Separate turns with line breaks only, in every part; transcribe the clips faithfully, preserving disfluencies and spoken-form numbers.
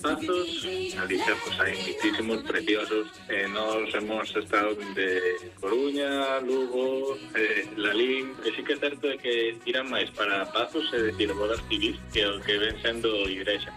Pazos, en Galicia pues hai muchísimos preciosos. Eh, nos hemos estado de Coruña, Lugo, eh, Lalín. E sí que é certo de que tiran máis para Pazos, é dicir, bodas civis, que o que ven sendo igrexa.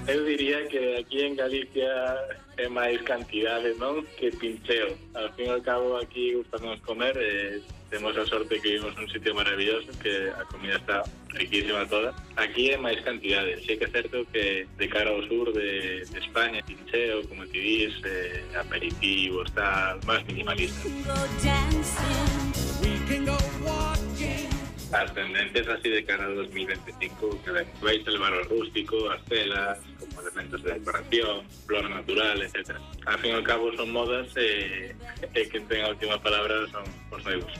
Eu diría que aquí en Galicia é máis cantidade, non? Que pincheo. Al fin e ao cabo aquí gustanos comer, eh, temos a sorte que vivimos nun sitio maravilloso, que a comida está riquísima toda. Aquí é máis cantidade. Sí que é certo que de cara ao sur de, de España, pincheo, como ti dis, eh, aperitivos, tal, máis minimalista. As tendencias así de cara a dos mil veinticinco que ven, vais a levar ao rústico, as telas, como elementos de decoración, flor natural, etcétera. Al fin e ao cabo son modas e, e quen ten a última palabra son os noivos.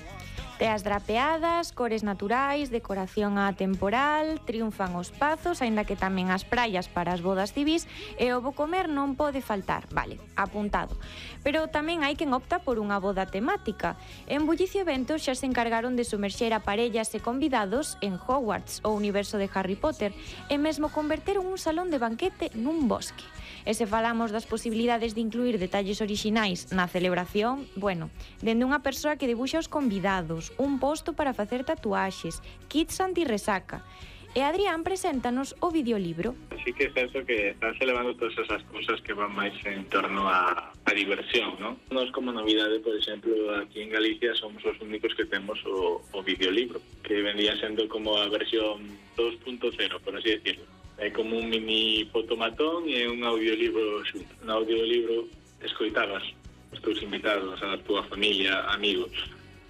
Teas drapeadas, cores naturais, decoración atemporal, triunfan os pazos, aínda que tamén as praias para as bodas civís, e o bo comer non pode faltar, vale, apuntado. Pero tamén hai quen opta por unha boda temática. En Bullicio Eventos xa se encargaron de sumerxer a parellas e convidados en Hogwarts, o universo de Harry Potter, e mesmo converteron un salón de banquete nun bosque. E se falamos das posibilidades de incluir detalles orixinais na celebración, bueno, dende unha persoa que debuxa os convidados, un posto para facer tatuaxes, kits anti-resaca. E Adrián preséntanos o videolibro.
Sí que é certo que están levando todas esas cousas que van máis en torno a, a diversión, ¿no? Nos como novidade, por exemplo, aquí en Galicia somos os únicos que temos o, o videolibro, que vendría sendo como a versión dos punto cero, por así decirlo. É como un mini fotomatón e un audiolibro xunto. Un audiolibro escoitabas os teus invitados, a túa familia, amigos,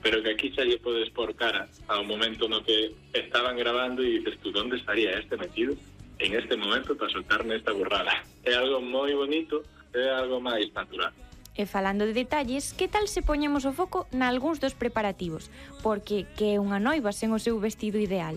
pero que aquí xa lle podes por cara ao momento no que estaban grabando e dices tú, onde estaría este metido en este momento para soltarme esta burrada? É algo moi bonito, é algo máis natural.
E falando de detalles, que tal se poñemos o foco nalgúns dos preparativos? Porque que é unha noiva sen o seu vestido ideal?